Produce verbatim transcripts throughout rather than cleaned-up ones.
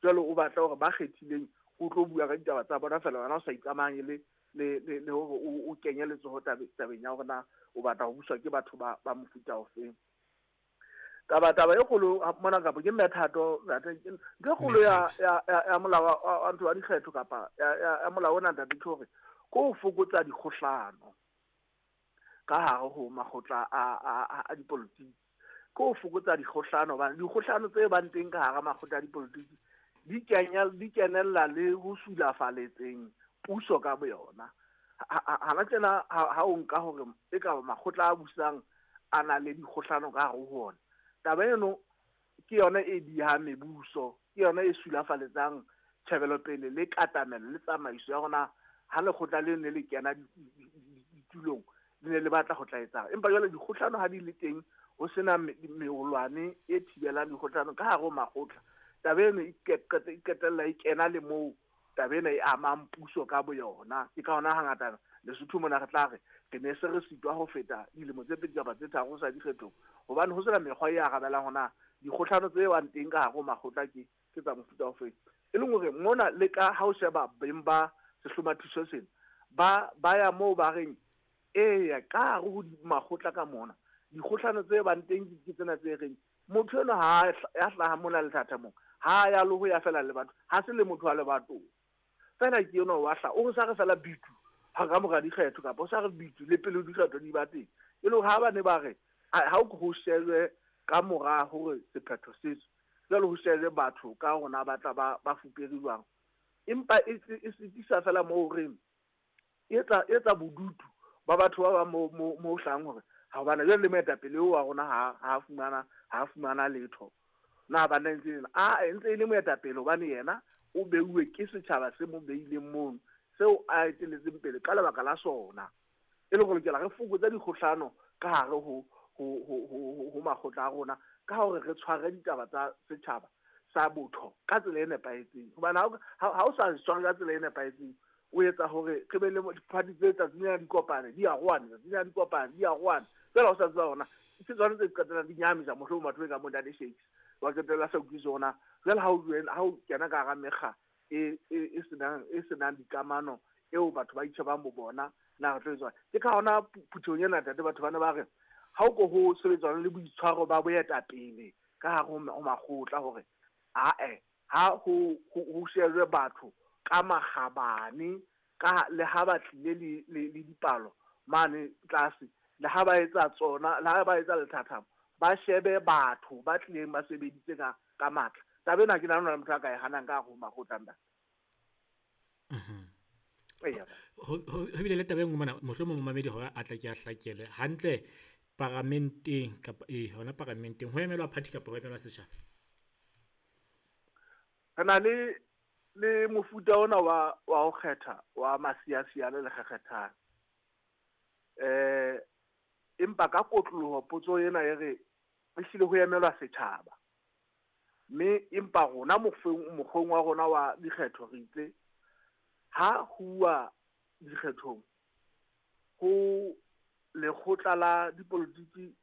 Jwale o batla hore ba kgethileng o tlo bua ka ditaba tsa bona fela wena o sa ikamahanye le le le le hore o o kenye letsoho tabeng ya hore na o batla ho buswa ke batho ba ba mofuta ofeng. Taba taba e kgolo mona kapa ke methato ntho e kgolo ya ya ya molao wa ntho wa dikgetho kapa ya ya molao ona ntate ke hore ko ho fokotsa dikgohlano ka hare ho makgotla a a a dipolotiki. Ko ho fokotsa dikgohlano hobane dikgohlano tse bang teng ka hara makgotla a dipolotiki di kenya di kenella le ho sulafaletseng puso ka boyona. Hana tjena ha o nka hore e ka makgotla a busang a na le dikgohlano ka hare ho ona. Taba eno ke yona e dihang mebuso, ke yona e sulafaletsang tjhebelopele le katamelo le tsamaiso ya rona ha lekgotla le ne le kena ditulong le ne le batla ho tla etsang. Empa jwale dikgohlano ha di le teng ho sena meholwane e thibelang dikgohlano ka hare ho makgotla, taba eno e qetella e kena le moo taba ena e amang puso ka boyona. Ke ka hona hangata Lesotho mona re tla re re ne se re sitwa ho feta dilemo tse pedi kapa tse tharo sa dikgethong hobane ho sena mekgwa e arabelang hona dikgohlano tse bang teng ka hare ho makgotla ke ke tsa mofuta ofeng. E leng hore mona le ka ha o sheba beng ba sehlomathiso sena ba ba ya moo ba reng eya ka hare ho makgotla ka mona dikgohlano tse bang teng ke tsena tse reng motho enwa ha ya hlaha mona lethathamong ha ya le ho ya fela le batho ha se le motho wa lebatong fela ke enwa wa hla o sa re fela bitu ha ka mora dikgetho kapa o sa re bitu le pele dikgetho di ba teng. E le hore ha ba ne ba re ha o ho shejwe ka mora hore sephetho se tswe jwale ho shejwe batho ka rona ba tla ba ba fupere jwang, empa e e sitisa fela moo re etsa etsa bodutu ba batho ba ba mo mo hlang hore ha bana jwale le moetapele wa rona ha ha fumana ha fumana letho na ba ntse a ntse e le moetapele hobane yena o beuwe ke setjhaba se mo beileng mono seo a eteletseng pele ka lebaka la sona. E le hore lokela re fokotse dikgohlano ka hare ho ho ho ho makgotla a rona ka hore re tshware ditaba tsa setjhaba sa botho ka tsela e nepahetseng. Hobane ha o sa tshware ka tsela e nepahetseng o etsa hore re be le diphathi tse tsatsing lena di kopane di arohane tsatsing lena di kopane di arohane fela o sa tseba hona ke tsona tse qetellang di nyahamisa mohlomong batho ba ka mo Ntate Shakes wa qetella sa utlwisise hona jwale ha o ha o kena ka hara mekga e e senang e senang dikamano eo batho ba itjhebang bo bona na re tlo etswa. Ke ka hona phuthehong ena ntate batho bana ba re ha o ko ho sebetsana le boitshwaro ba boetapele ka hare ho makgotla hore ae ha ho ho shejwe batho ka makgabane ka le ha ba tlile le le dipalo mane tlase le ha ba etsa tsona le ha ba etsa lethathamo ba shebe batho ba tlileng ba sebeditse ka ka matla. Taba ena ke nahana motho a ka e hanang ka hare ho makgotla ntate. Mhm. Ho bile le taba e nngwe mona mohlomong momamedi hore a tle ke a hlakele hantle paramenteng kapa eh hona paramenteng ho emelwa party kapa ho emelwa setjhaba. Re na le le mofuta ona wa wa ho kgetha wa masiasiane le kgekgethane. Eh empa ka kotloloho potso ena e re ehlile ho emelwa setjhaba. Mme empa rona mokgweng mokgweng wa rona wa dikgetho re itse ha huwa dikgethong ho lekgotla la dipolotiki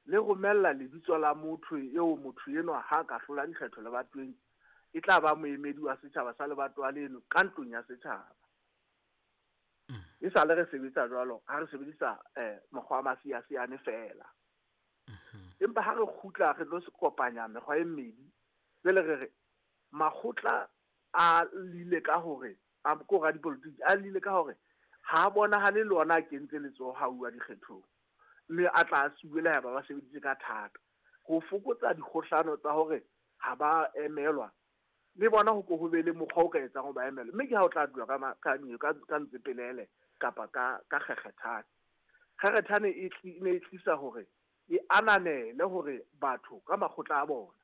le romella lebitso la motho eo motho enwa ha ka hlola dikgetho lebatoweng e tla ba moemedi wa setjhaba sa lebatowa leno ka ntlong ya setjhaba. E sale re sebetsa jwalo ha re sebedisa eh mokgwa wa masiasiane fela. Empa ha re kgutla re tlo kopanya mekgwa e mmedi jwale re re makgotla a lile ka hore a ko ra dipolotiki a lile ka hore ha bonahale le ona a kentse letsoho ha uwa dikgethong mme a tla suwela ha ba ba sebeditse ka thata ho fokotsa dikgohlano tsa hore ha ba emelwa le bona ho ko ho be le mokgwa o ka etsang ho ba emelwa mme ke ha o tla dula ka ka ka ka ntsepelele kapa ka ka kgekgethane. Kgekgethane e ne e tlisa hore e ananele hore batho ka makgotla a bona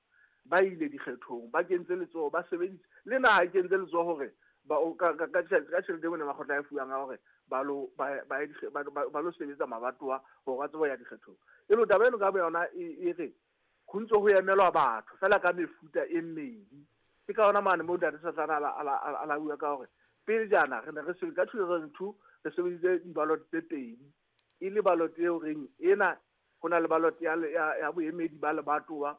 ba ile dikgethong ba kentse letsoho ba sebeditse le naha e kentse letsoho hore ba ka ka ka tjhelete eo makgotla a fuwang a hore ba lo ba ba ba lo sebetsa mabatowa hore ba tsebe ya dikgethong. E le taba eno ka boyona e re ho ntso ho emelwa batho fela ka mefuta e mmedi. Ke ka hona mane moo Ntate Satlana a la a la bua ka hore pele jana re ne re sebetsa ka two thousand two re sebeditse di-ballot tse pedi e le ballot eo reng ena ho na le ballot ya ya boemedi ba lebatowa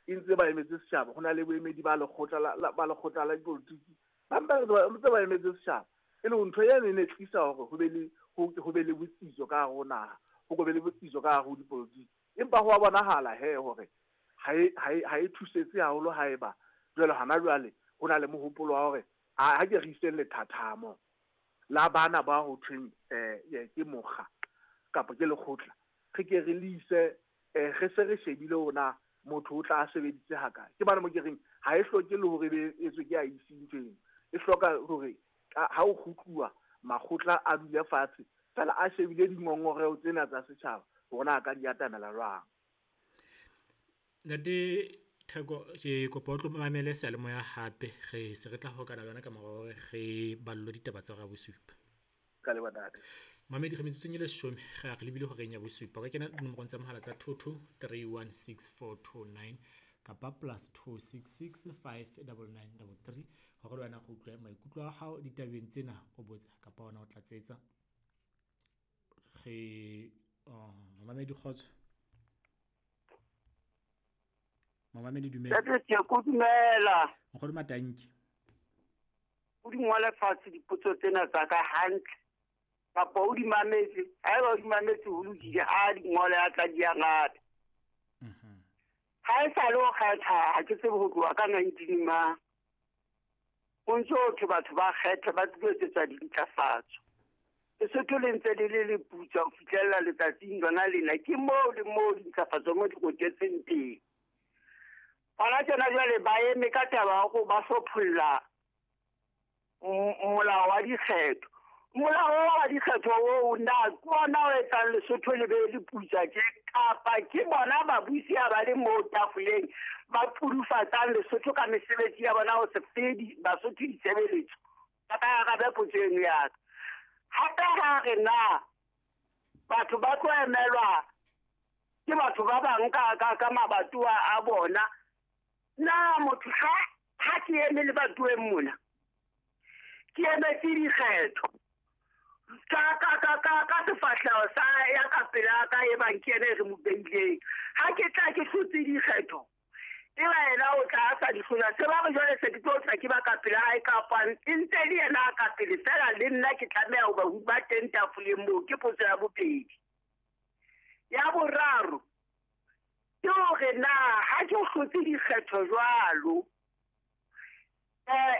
e ntse ba emetse setjhaba, ho na le boemedi ba lekgotla la ba lekgotla la dipolotiki ba ntse ba emetse setjhaba. E le ntho ene e ne tlisa hore ho be le ho be le botsitso ka hare ho naha, ho be le botsitso ka hare ho dipolotiki. Empa ho a bonahala he hore ha e ha e thusetse haholo haeba jwale hana jwale ho na le mohopolo wa hore ha ke re iseng lethathamo la bana ba ho thweng eh ke mokga kapa ke lekgotla, re ke re le ise re se re shebile hore motho o tla sebeditse hakae. Ke bana mo ke reng ha e hloke le hore be etswe ke a ise ntho eno, e hloka hore ha o kgutluwa makgotla a dule fatshe fela a shebile dingongoreo tsena tsa setjhaba hore na a ka di atamela jwang. Ntate Theko, ke kopa o tlo mamele seyalemoya hape, re se re tla hokana le wena ka mora hore re ballwe ditaba tsa hora ya bosupa. Ka leboha ntate. Mamedi, re metsotsong e leshome re re lebile horeng ya bosupa. O ka kena dinomorong tsa mohala tsa two two three one six four two nine kapa plus two six six five double nine double three hore le wena re utlwe maikutlo a hao ditabeng tsena, o botsa kapa ona o tlatsetsa. Re mamedi kgotso. Mamedi dumela. Ntate Theko, dumela. Nkgono Matanki. O di ngole fatshe dipotso tsena tsa ka hantle. Kapa o di mametse, haeba o di mametse ho lokile, ha di ngole a tla di arabe. Mhm. Ha e sa le ho kgetha, ha ke tsebe ho tloha ka nineteen mang. Ho ntso thwe batho ba kgetha ba tlilo etsetsa dintlafatso. Lesotho le ntse le le leputswa ho fihlella letsatsing lona lena, ke moo le moo dintlafatso mo di rotetseng teng. Hona tjena jwale ba eme ka taba ya hore ba hlopholla molao wa dikgetho. Molao wa dikgetho oo na ke ona o etsang Lesotho le be le putswa tje, kapa ke bona babusi ha ba le moo tafoleng ba pudufatsang Lesotho ka mesebetsi ya bona ho se fe Basotho ditshebeletso? Ba ka arabe potso eno ya ka. Hape ha re na batho ba tlo emelwa ke batho ba bang ka ka ka mabatowa a bona, na motho ha ha ke eme lebatoweng mona, ke emetse dikgetho ka ka ka ka ka sefahleho sa ya ka pela ka e bang ke ene re mo beileng. Ha ke tla ke hlotse dikgetho, e ba yena o tla a sa di hlola, se ba re jwale se ke tlo tla ke ba ka pela hae kapa e ntse le yena a ka pele fela, le nna ke tlameha ho ba ho ba teng tafoleng moo. Ke potso ya bobedi. Ya boraro ke hore na ha ke hlotse dikgetho jwalo, eh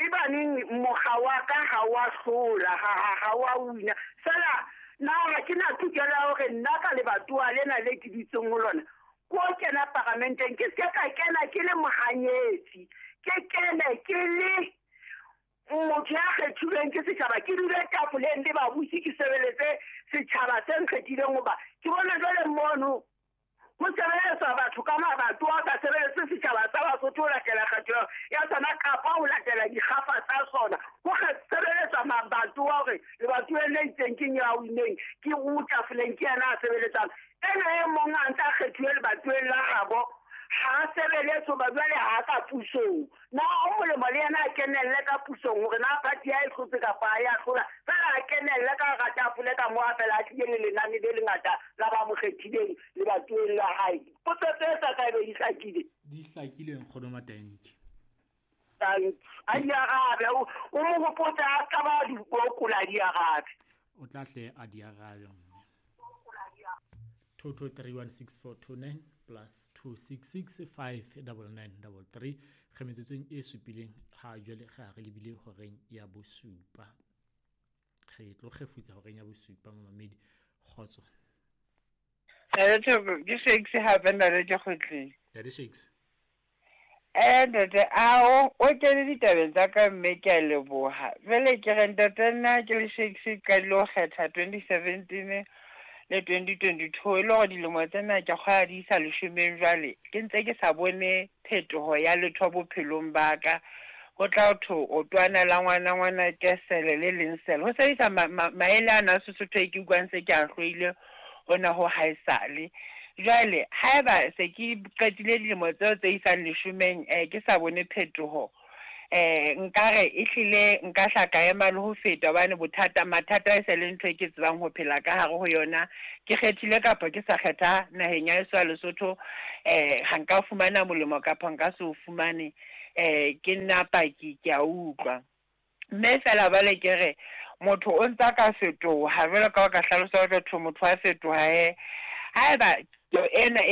e baneng mokga wa ka ha wa hlola, ha ha ha wa wina fela, na ha ke na tokelo ya hore nna ka lebatowa lena le ke dutseng ho lona ko kena paramenteng, ke se ka kena ke le mohanyetsi, ke kene ke le motho ya kgethilweng ke setjhaba, ke dule tafoleng le babusi, ke sebeletse setjhaba se nkgethileng. Hoba ke bona jwale mono ho sebeletswa batho ka mabatowa, ka sebeletse setjhaba sa Basotho ho latela kgetho ya sona kapa ho latela dikgafa tsa sona. Ho sebeletswa mabatowa hore lebatoweng le itseng ke ya wineng, ke o tafoleng ke yena a sebeletsang. Ena e mong a ntse a kgethuwe lebatoweng la habo, ha sebeletse hoba jwale ha ka pusong. Na o molemo le yena a kenelle ka pusong hore na party ya e hlotse kapa ha ya hlola, fela a kenelle ka hara tafole ka moo a fela a tlile le lenane le lengata la ba mo kgethileng lebatoweng la hae. Potso tse tsa ka ebe di hlakile. Di hlakile Nkgono Matanki. A di arabe, o mo hopotse a ka ba di okola di arabe. O tla hle a di arabe mme. two two three one six four two nine plus two six six five double nine double three. Re metsotsong e supileng ha jwale re re lebile horeng ya bosupa. Re tlo kgefutsa horeng ya bosupa mamedi kgotso. Ntate Theko, ke Shakes hape ntate ke kgutlile. Ntate Shakes. Eh ntate, a o o kene ditabeng tsa ka mme ke a leboha. Jwale ke re ntate nna ke le Shakes ka lo kgetha twenty seventeen le twenty twenty-two, e le hore dilemo tsena ke kgwa di isa leshomeng jwale ke ntse ke sa bone phetoho ya letho bophelong ba ka. Ho tla thwe o twana la ngwana ngwana ke sele le leng sele. Ho sebedisa maele ana a Sesotho e ke utlwang se ke a hloile hona ho haesale. Jwale haeba se ke qetile dilemo tseo tse isang leshomeng eh ke sa bone phetoho, Eh nkare ehlile nka hla ka ema le ho feta hobane bothata mathata e se le ntho e ke tsebang ho phela ka hare ho yona. Ke kgethile kapa ke sa kgetha naheng ya heso ya Lesotho, eh ha nka fumana molemo kapa nka se o fumane, eh ke nna paki ke a utlwa. Mme fela jwale ke re motho o ntsa ka fetoha jwalo ka o ka hlalosa hore motho a fetoha he. Haeba ena e